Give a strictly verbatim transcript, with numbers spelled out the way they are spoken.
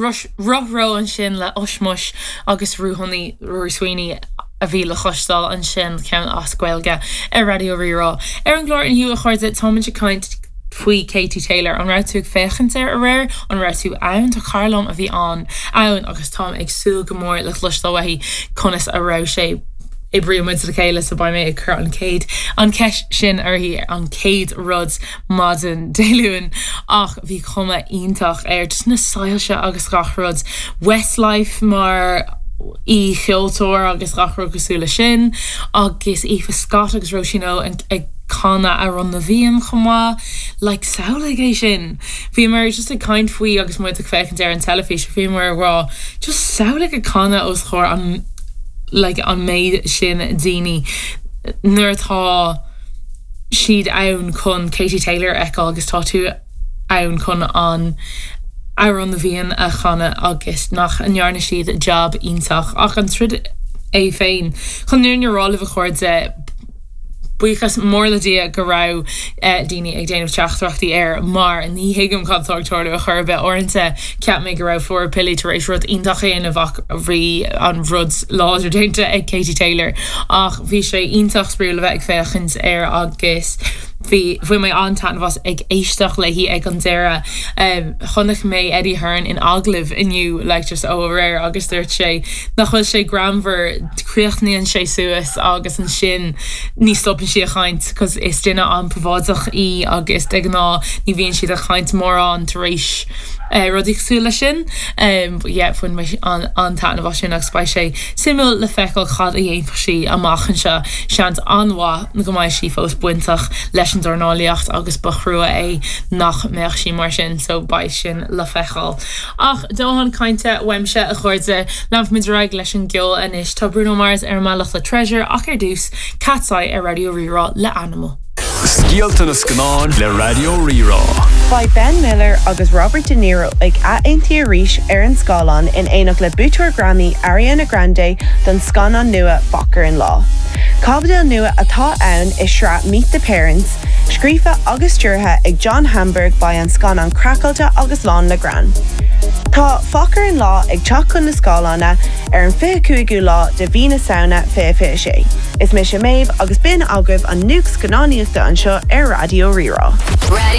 Ruthro ansin le Ushmush agus Ruathnaí Rory Sweeney a bhí le cloisteáil ansin ceann as Gaeilge ar Raidió Rí-Rá. Ar an gclár inniu a chairde táimid ag caint faoi Katie Taylor an raibh tú ag féachaint air aréir an raibh tú ann tá cara liom a bhí an ann agus táim ag súil go mór le cloisteáil uaithi conas a raibh sé oibrímid le chéile so beidh mé ag cur an chéad an cheist sin uirthi an chéad rud maidin Dé Luain ach bhí cuma iontach air just na soilse agus gach rud Westlife mar aoi-cheoltóir agus gach rud cosúil leis sin agus Aoife Scott agus Róisín ag canadh Amhrán na bhFiann chomh maith like samhlaigh é sin. Bhí mar just ag caint faoi agus muid ag féachaint ar an teilifís bhí mar rá just samhlaigh ag canadh os comhair an like an méid sin daoine nuair atá siad ann chun Katie Taylor a fheiceáil agus tá tú ann chun an Amhrán na bhFiann a chanadh agus nach ndearna siad job iontach ach an troid é féin chun an fhírinne a rá libh a chairde buíochas mór le Dia go raibh eh, daoine ag déanamh teachtaireachtaí air mar ní thuigim cad atá ag tarlú a chor ar bith uaireanta cheap mé go raibh Flora Pili tar éis rud iontach a dhéanamh ach bhí an rud láidir déanta ag Katie Taylor ach bhí sé iontach spraíúil a bheith ag féachaint air agus bhí bhain mé an-taitneamh as ag éisteacht léi ag an deireadh um, chonaic mé Eddie Hearn in agallamh inniu like just ó aréir agus dúirt sé nach bhfuil sé greannmhar críochnaíonn sé suas agus ansin ní stopann sí ag caint cos is duine an-phríobháideach í agus de ghnáth ní bhíonn siad ag caint mórán tar éis uh, rudaí cosúil leis sin um, yeah, bhain mé an an-taitneamh as sin agus beidh sé suimiúil le feiceáil cad a dhéanfaidh sí amach anseo seans an-mhaith go mbeidh sí fós bainteach leis an dornálaíocht agus ba thrua é nach mbeadh sí mar sin so beidh sin le feiceáil. Ach dóthain cainte uaimse a chairde leanfaimid ar aghaidh leis an gceol anois tá Bruno Mars ar an mbealach le Treasure ach ar dtús Katseye ar Raidió Rí-Rá le Animal. Scéalta na scannán le Raidió Rí-Rá. Beidh Ben Miller agus Robert De Niro ag athaontú arís ar an scáileán in éineacht le buaiteoir Grammy Ariana Grande don scannán nua Focker in Law. Caibidil nua atá ann i sraith Meet the Parents, scríofa agus stiúrtha ag John Hamburg beidh an scannán craiceáilte agus lán le greann. Tá Focker in Law ag teacht chun na scáileána ar an fiche cúigiú lá de mhí na Samhna fiche fiche sé. Is mise Méabh agus b'in agaibh an nuacht scannánaíochta anseo ar Raidió Rí-Rá. Ready